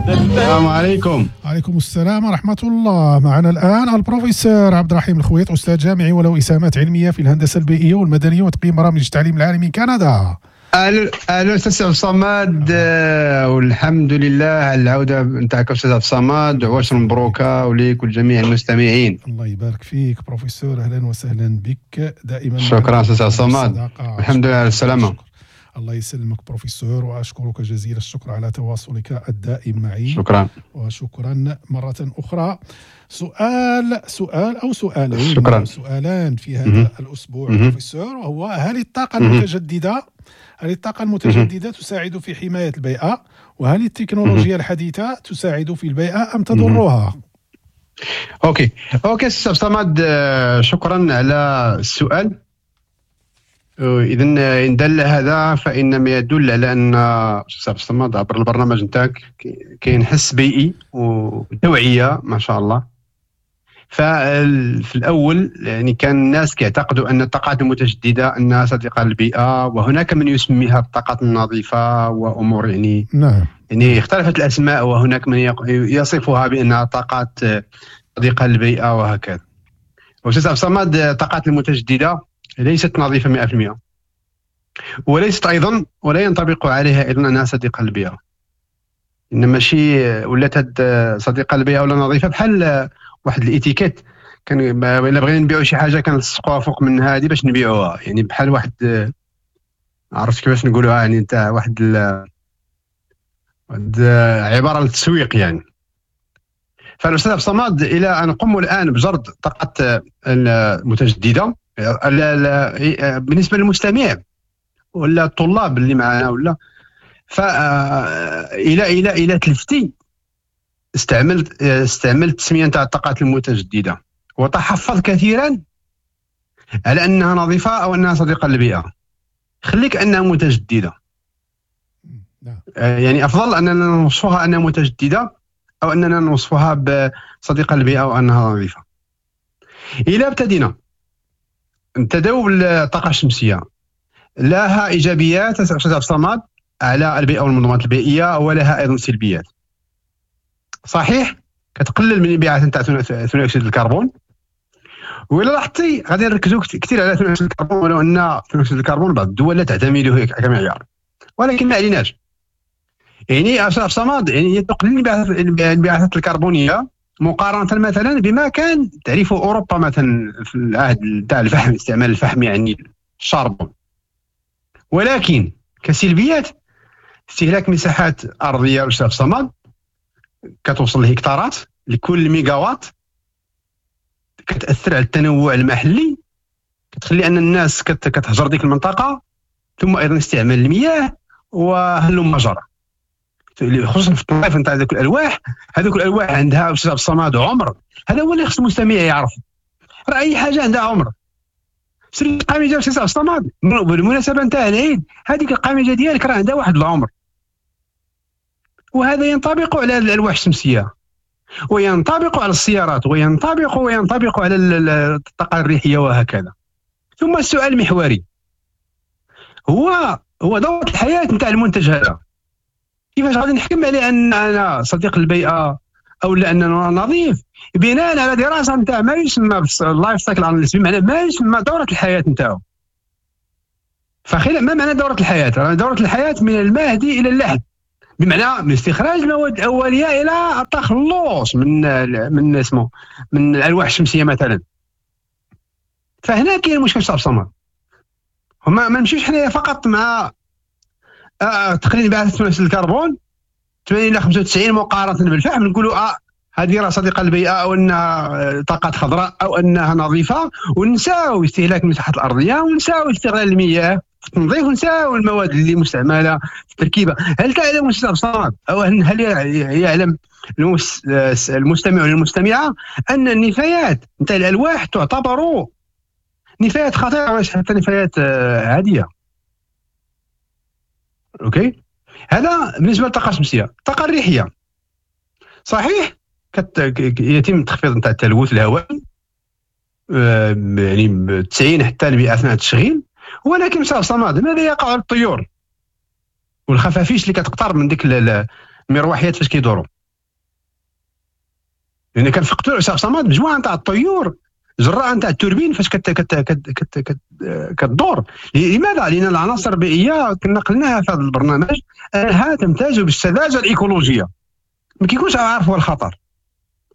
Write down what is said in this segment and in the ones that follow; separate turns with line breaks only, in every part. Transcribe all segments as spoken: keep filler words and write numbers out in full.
السلام عليكم.
عليكم السلام ورحمة الله. معنا الآن البروفيسور عبد الرحيم الخويط، أستاذ جامعي وله إسهامات علمية في الهندسة البيئية والمدنية وتقييم برامج التعليم العالي من كندا.
الو الو استاذ عبد الصمد، آه، والحمد لله على العودة نتاعك استاذ عبد الصمد، وعواشر مبروكه وليك ولجميع المستمعين.
الله يبارك فيك بروفيسور، اهلا وسهلا بك دائما.
شكرا استاذ عبد الصمد، الحمد لله على السلامه.
الله يسلمك بروفيسور، واشكرك جزيل الشكر على تواصلك الدائم معي.
شكرا.
وشكرا مرة اخرى. سؤال سؤال او سؤالين.
شكرا.
سؤالان في هذا مم. الاسبوع مم. بروفيسور، وهو هل الطاقة المتجددة هل الطاقة المتجددة تساعد في حماية البيئة؟ وهل التكنولوجيا الحديثة تساعد في البيئة أم تضرها؟
OK OK استاذ صمد، شكرا على السؤال. اذا ان دل هذا فانما يدل على ان استاذ صمد عبر البرنامج نتاعك كاين حس بيئي وتوعيه ما شاء الله. ففي الاول يعني كان الناس كيعتقدوا ان الطاقات المتجددة انها صديقه للبيئة، وهناك من يسميها الطاقات النظيفة وامور يعني
نعم
يعني اختلفت الاسماء، وهناك من يصفها بانها طاقات صديقه للبيئة وهكذا. واستاذ عبد الصمد، الطاقات المتجددة ليست نظيفة مئة بالمئة، وليست ايضا ولا ينطبق عليها ايضا انها صديقه للبيئة. انما ماشي ولات صديقه للبيئة ولا نظيفة بحال واحد الاتيكيت، كان الا بغينا نبيعوا شي حاجة كنلصقوها فوق من هذه باش نبيعوها، يعني بحال واحد عرفت كيفاش نقولوها، يعني تاع واحد ال... واحد عبارة للتسويق يعني. فالاستاذ عبد الصمد، الى ان نقوم الان بجرد الطاقات المتجددة بالنسبة للمستمع ولا الطلاب اللي معنا ولا، فالى الى الى تلفتي استعملت استعملت التسمية نتاع الطاقات المتجددة وتحفظ كثيرا على انها نظيفة او انها صديقه للبيئة. خليك انها متجددة، يعني افضل اننا نوصفها انها متجددة او اننا نوصفها بصديقه للبيئة او انها نظيفة. الى ابتدينا نبتداو بالطاقة الشمسية، لها ايجابيات استاذ عبد الصمد على البيئة والمنظومات البيئية، ولها ايضا سلبيات. صحيح كتقلل من الانبعاثات نتاع ثاني اكسيد الكربون، وإلا لاحظتي غادي نركزوا كثير على ثاني اكسيد الكربون، ولو ان ثاني اكسيد الكربون بعض الدول لا تعتمده كمعيار، ولكن ما عليناش. يعني استاذ صمد، يعني هي تقليل الانبعاثات الكربونيه مقارنة مثلا بما كان تعرفه اوروبا مثلا في العهد تاع الفحم، استعمال الفحم يعني ال charbon. ولكن كسلبيات استهلاك مساحات ارضية استاذ صمد كتوصل لهكتارات لكل ميجاوات، كتاثر على التنوع المحلي، كتخلي ان الناس كتهجر ديك المنطقة، ثم ايضا استعمال المياه وهلم جرى، خصوصا في التنظيف نتاع هذوك الالواح. هذوك الالواح عندها استاذ الصمد عمر، هذا هو اللي خص المستمع يعرف، راه اي حاجة عندها عمر. سير القميجه استاذ الصمد بالمناسبة نتاع العيد، هذيك القميجه ديالك راه عندها واحد العمر، وهذا ينطبق على الالواح الشمسية، وينطبق على السيارات، وينطبق وينطبق على الطاقة الريحيه وهكذا. ثم السؤال المحوري هو هو دوره الحياة نتاع المنتج هذا، كيفاش غادي نحكم عليه ان انا صديق البيئة او لاننا نظيف بناء على دراسة نتاع ما يسمى بال life cycle analysis، بمعنى ما يسمى دوره الحياة نتاعو. فخلال ما معنى دوره الحياة؟ دوره الحياة من المهد الى اللحد، بمعنى من استخراج المواد الاولية الى التخلص من من اسمه من الالواح الشمسية مثلا. فهنا كاين مشكل صعب صمد، هما ما نمشيوش حنايا فقط مع آه تقليل انبعاثات ثاني اكسيد الكربون ثمانين الى خمسة وتسعين مقارنة بالفحم، نقولوا اه هذه راه صديقه للبيئة او انها طاقات خضراء او انها نظيفة، ونساو استهلاك المساحات الارضية، ونساو استغلال المياه في التنظيف، ونساو المواد اللي مستعملة في التركيبة. هل تعلم استاذ صمد او هل يعلم المستمع والمستمعة ان النفايات نتاع الالواح تعتبر نفايات خطيرة وليس حتى نفايات عادية؟ OK، هذا بالنسبة للطاقة الشمسية. الطاقة الريحيه صحيح كت... يتم التخفيض نتاع التلوث الهوائي يعني تسعين حتى المئة اثناء التشغيل، ولكن استاذ صمد ماذا يقع للطيور والخفافيش اللي كتقترب من ديك المروحيات فاش كيدوروا؟ لان كنفقدوا الاستاذ صمد مجموعة نتاع الطيور جراء نتاع التوربين فاش كت كت كت كت كت كتدور. لماذا؟ لان العناصر البيئية كنا قلناها في هذا البرنامج انها تمتاز بالسذاجه الايكولوجيه، ما كيكونش عارف هو الخطر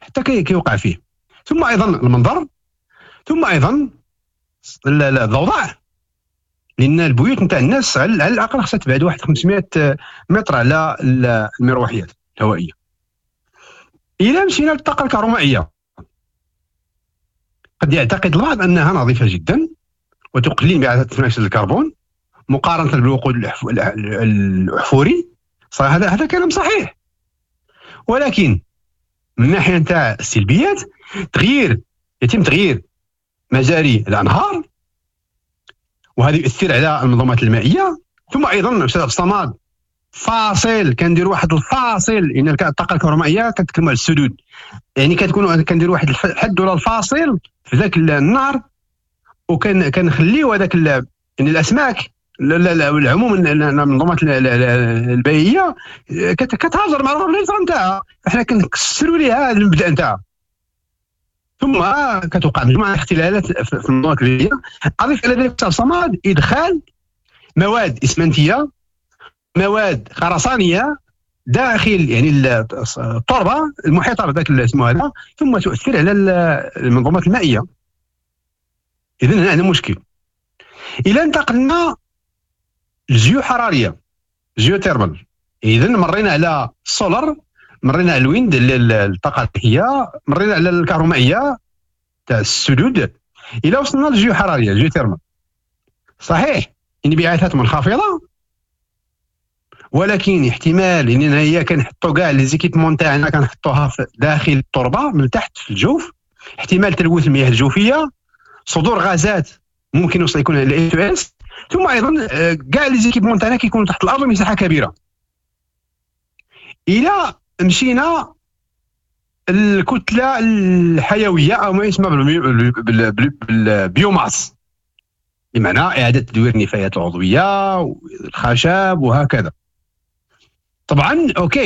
حتى كيوقع فيه. ثم ايضا المنظر، ثم ايضا الضوضاء، لان البيوت نتاع الناس على الاقل خصها تبعد واحد خمسمائة متر على المروحيات الهوائية. الى مشينا للطاقة الكهرومائيه، قد يعتقد البعض انها نظيفة جدا وتقلل انبعاثات ثاني اكسيد الكربون مقارنة بالوقود الاحفوري، هذا هذا كلام صحيح، ولكن من ناحية نتاع السلبيات تغيير يتم تغيير مجاري الانهار، وهذا يؤثر على المنظومات المائية. ثم ايضا استاذ عبد الصمد فاصل، كندير واحد الفاصل، لان الطاقة الكهرومائيه كنتكلموا على السدود، يعني كتكون كندير واحد الحد ولا الفاصل في ذاك النهر، وكان كنخليو هذاك يعني الاسماك العموم المنظومات البيئية كتهاجر مع الهجرة نتاعها، فحنا كنكسروا ليها هذا المبدا نتاعها. ثم كتوقع مجموعة الاختلالات في المنظومات البيئية. اضيف الى ذلك الصمد ادخال مواد اسمنتيه، مواد خرسانيه داخل يعني التربة المحيطة بذاك اسمه هذا، ثم تؤثر على المنظومات المائية. اذا هنا عندنا مشكل. الى انتقلنا الجيوحراريه geothermal، اذا مرينا على السولر، مرينا على ال wind الطاقة الريحيه، مرينا على الكهرومائيه تاع السدود، الى وصلنا للجيوحراريه geothermal. صحيح انبعاثات منخفضة، ولكن احتمال ان هي كنحطوا كاع les équipements تاعنا كنحطوها داخل التربة من تحت في الجوف، احتمال تلوث المياه الجوفيه، صدور غازات ممكن يوصل يكون ال إس اس، ثم ايضا كاع les équipements تاعنا كيكونوا تحت الارض مساحة كبيرة. الى مشينا الكتلة الحيوية او ما يسمى بال biomasse، بمعنى اعاده تدوير النفايات العضوية والخشب وهكذا. طبعا OK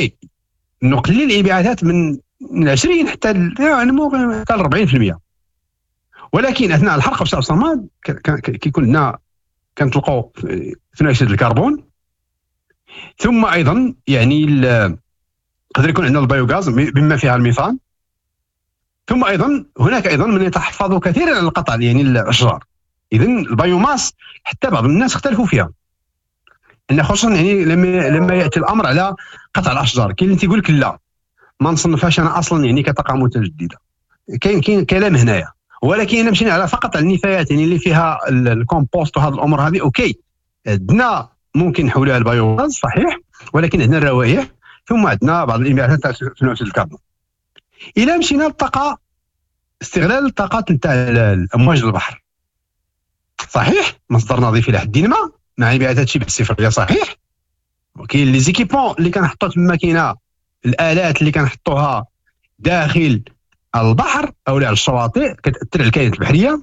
نقلل الانبعاثات من من عشرين حتى يعني حتى أربعين بالمئة، ولكن اثناء الحرق في الصماد كيكون لنا كنطلقوا ثاني اكسيد الكربون، ثم ايضا يعني يقدر يكون عندنا ال biogaz بما فيها الميثان، ثم ايضا هناك ايضا من يتحفظ كثيرا على القطع يعني الاشجار. اذا ال biomasse حتى بعض الناس اختلفوا فيها، ان خصوصا يعني لما لما ياتي الامر على قطع الاشجار، كاين اللي تيقول لك لا ما نصنفهاش انا اصلا يعني كطاقه متجددة، كاين كاين كلام هنايا. ولكن الا مشينا على فقط على النفايات يعني اللي فيها الكومبوست وهذه الامور هذه، OK عندنا ممكن نحولوها ل biomasse صحيح، ولكن عندنا الروائح، ثم عندنا بعض الانبعاثات تاع ثاني اكسيد الكربون. الى مشينا للطاقة، استغلال الطاقات نتاع الامواج البحر، صحيح مصدر نظيف الى حد ما مع انبعاثات شبه الصفريه صحيح، وكاين les équipements اللي كنحطو تما، كاينه الالات اللي كنحطوها داخل البحر او على الشواطئ كتاثر على الكائنات البحرية،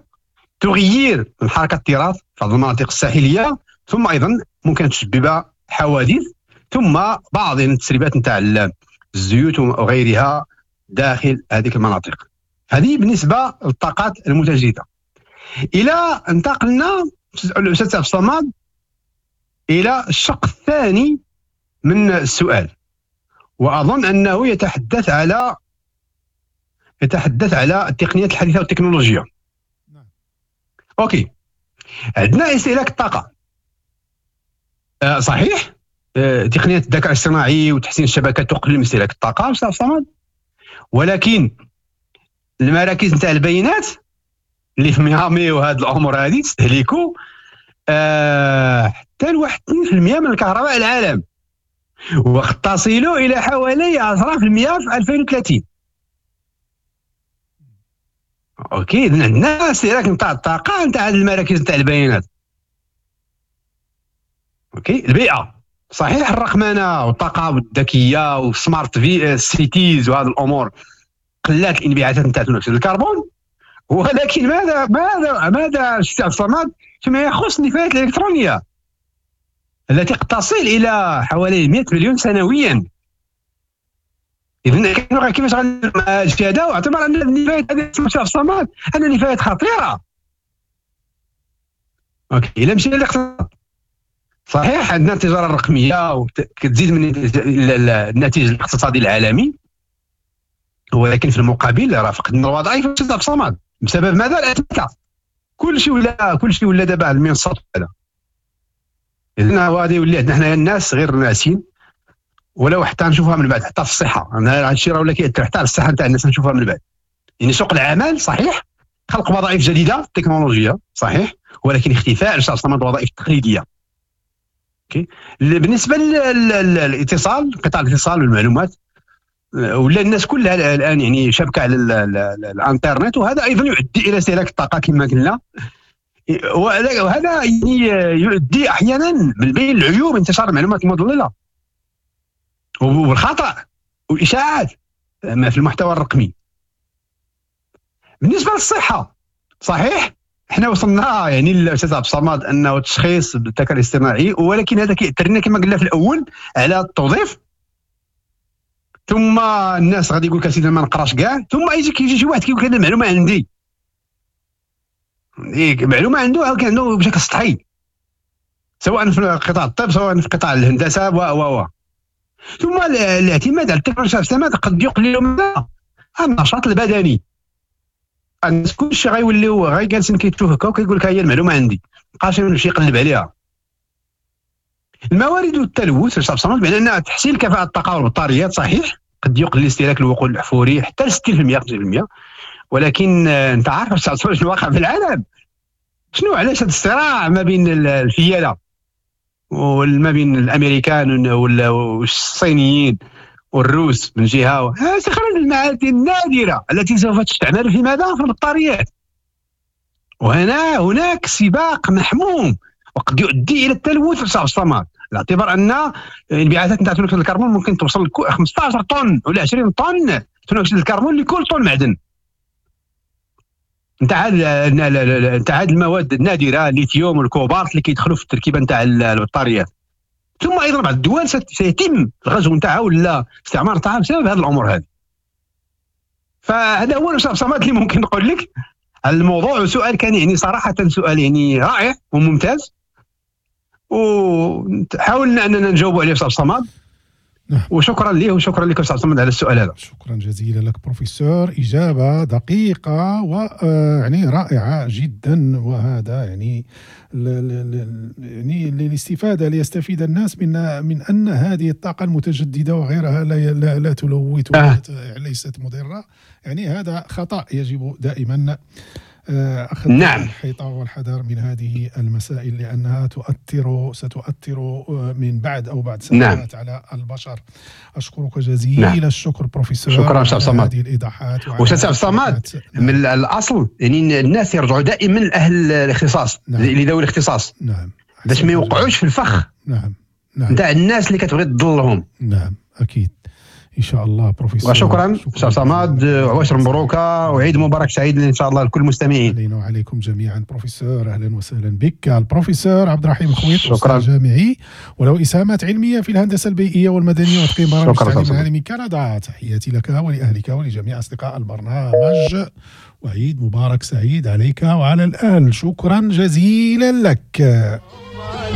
تغيير من حركة التراث في بعض المناطق الساحلية، ثم ايضا ممكن تسبب حوادث، ثم بعض التسريبات نتاع الزيوت وغيرها داخل هذه المناطق. هذه بالنسبة للطاقات المتجددة. الى انتقلنا الاستاذ عبد الصمد الى الشق الثاني من السؤال، واظن انه يتحدث على يتحدث على التقنيات الحديثة والتكنولوجيا. OK، عندنا استهلاك الطاقة، أه صحيح، أه تقنيات الذكاء الاصطناعي وتحسين الشبكات تقلل من استهلاك الطاقة استاذ صمد، ولكن المراكز نتاع البيانات اللي في ميامي وهاد الامور هذه تستهلكوا أه حتى لواحد اثنين بالمئة من الكهرباء العالم، وقد تصل الى حوالي عشرة بالمئة في ألفين وثلاثين. OK، اذا عندنا استهلاك نتاع الطاقة نتاع المراكز نتاع البيانات. OK، البيئة صحيح، الرقمنه والطاقة الذكية وال smart في cities وهذه الامور قلات الانبعاثات نتاع ثاني اكسيد الكربون، ولكن ماذا ماذا ماذا السي عبد الصمد فيما يخص النفايات الالكترونية التي قد تصل الى حوالي مئة مليون سنويا؟ اذا كيفاش غندير مع هذا الشيء هذا؟ واعتبر ان النفايات هذه في الصمد ان نفايات خطيرة. OK، الا مشينا للاقتصاد، صحيح عندنا التجارة الرقمية وكتزيد من الناتج الاقتصادي العالمي، ولكن في المقابل راه فقدنا الوظائف في الصمد بسبب ماذا؟ الاتمتة. كل شيء ولا كل شيء ولا دابا على المنصات هذا. اذا غادي يولي عندنا حنايا الناس غير ناسين، ولو حتى نشوفها من بعد حتى في الصحة، انا هذا الشيء راه ولا كيأثر حتى على الصحة نتاع الناس، نشوفها من بعد. يعني سوق العمل صحيح خلق وظائف جديدة تكنولوجيا صحيح، ولكن اختفاء الوظائف التقليدية. OK، بالنسبة للاتصال، قطاع الاتصال والمعلومات، ولا الناس كلها الان يعني شبكة على الانترنت، وهذا ايضا يؤدي الى استهلاك الطاقة كما قلنا، وهذا يعني يؤدي احيانا من بين العيوب انتشار المعلومات المضللة والخطا والاشاعات في المحتوى الرقمي. بالنسبة للصحة صحيح احنا وصلنا يعني الاستاذ عبد الصمد انه التشخيص بالذكاء الاصطناعي، ولكن هذا كيأثر لنا كما قلنا في الاول على التوظيف، ثم الناس غادي يقول لك اسيدي ما نقراش كاع، ثم يجي كيجي شي واحد كيقول لك هذه المعلومة عندي، معلومة عنده عنده بشكل سطحي، سواء في قطاع الطب سواء في قطاع الهندسة و و ثم الاعتماد على التكنولوجيا الاصطناعيه قد يقلل من النشاط البدني. الناس كلشي غيوليو غير جالسين كيتشوف هكا وكيقول لك هي المعلومة عندي، مابقاش يمشي يقلب عليها. الموارد والتلوث بمعنى ان تحسين كفاءة الطاقة والبطاريات صحيح قد يقلل استهلاك الوقود الاحفوري حتى ل ستين بالمئة خمسين بالمئة، ولكن انت عارف شنو واقع في العالم، شنو علاش هذا الصراع ما بين الفيلة وما بين الامريكان والصينيين والروس من جهة، استخراج المعادن النادرة التي سوف تستعمل في ماذا؟ في البطاريات. وهنا هناك سباق محموم وقد يؤدي الى التلوث في الصمد، باعتبار ان الانبعاثات نتاع ثاني اكسيد الكربون ممكن توصل ل خمسطاش طن ولا عشرين طن ثاني اكسيد الكربون لكل طن معدن. نتاع هاد نتاع هاد المواد النادرة الليثيوم والكوبالت اللي كيدخلوا في التركيبة نتاع البطاريات. ثم ايضا بعض الدول سيتم الغزو نتاعها ولا استعمار نتاعها بسبب هذه الامور هذه. فهذا هو الاستاذ صمد اللي ممكن نقول لك على الموضوع، وسؤال كان يعني صراحة سؤال يعني رائع وممتاز، وحاولنا اننا نجاوب عليه استاذ صمد. نعم. وشكرا ليه وشكرا لك استاذ صمد على السؤال هذا.
شكرا جزيلا لك بروفيسور، اجابه دقيقة ويعني رائعة جدا، وهذا يعني يعني للاستفادة، ليستفيد الناس من من ان هذه الطاقة المتجددة وغيرها لا لا, لا تلوث آه. ليست مضرة، يعني هذا خطا يجب دائما أخذ نعم. الحيطة والحذر من هذه المسائل، لأنها تؤثر ستؤثر من بعد أو بعد سنوات نعم. على البشر. أشكرك جزيل نعم. الشكر بروفيسور.
شكرا أستاذ صمد
هذه الإيضاحات.
أستاذ صمد نعم. من الأصل يعني الناس يرجعوا دائما لأهل الاختصاص، نعم. لذوي الاختصاص، نعم، باش ما يوقعوش في الفخ
نعم نعم
نتاع الناس اللي كتبغي تضلهم.
نعم أكيد إن شاء الله بروفيسور.
وشكرا أستاذ صمد، وعشر مبروكة وعيد مبارك سعيد إن شاء الله لكل المستمعين.
علينا وعليكم جميعا بروفيسور، أهلا وسهلا بك. البروفيسور عبد الرحيم الخويط، أستاذ جامعي وله إسهامات علمية في الهندسة البيئية والمدنية وتقييم برامج التعليم العالي من كندا. تحياتي لك ولأهلك ولجميع أصدقاء البرنامج، وعيد مبارك سعيد عليك وعلى الأهل. شكرا جزيلا لك.